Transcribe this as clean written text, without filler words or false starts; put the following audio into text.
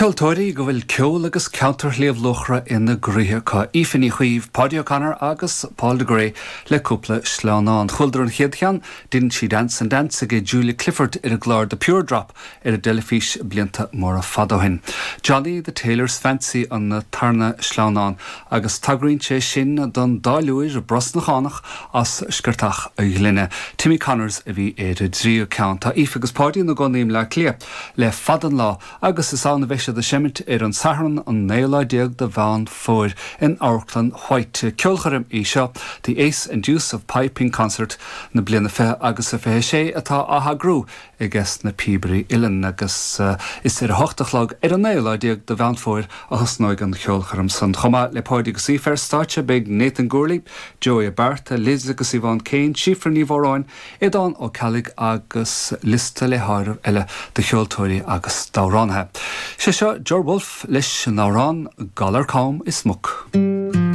Ceoltóirí go bhfuil ceol agus ceantar Shliabh Luachra ina gcroíthe acu, Aoife Ní Chaoimh, Paudie O'Connor agus Paul de Grey le cúpla sleamhnán. Chualadar an chéad cheann, Didn't She Dance and Dance ag Julia Clifford ar an gclár The Pure Drop ar an dteilifís blianta móra fada ó shin. Johnny the Tailor's Fancy an tarna sleamhnán agus tagraíonn sé sin don dtáilliúir brosnachánach as Sciortach a' Ghlinne. Timmy Connors a bhí ar an dtríú ceann. Tá Aoife agus Paudie ina gcónaí i mBleá Cliath le fada an lá agus is ann a bheidh siad ag seimint ar an Satharn an naoú lá déag de Mheán Fómhair in Amharclann White. Ceolchoirm í seo, The Ace and Deuce of Piping Concert na bliana 20 agus a 26 atá á heagrú ages na Píobairí Uilleann agus is ar a hocht a chlog ar an naoú lá déag de Mheán Fómhair a thosnóidh an cheolchoirm san. Chomh maith le Páidí agus Aoife ar stáitse beidh Nathan Gourley, Joey Ó Bearta, Liz agus Yvonne Kane, Síofra Ní Mhóráin, Aodán Ó Ceallaigh agus liosta le háireamh eile de cheoltóirí agus d'amhránaithe. Sé seo Ger Wolfe leis an amhrán Galar Cam is Muc.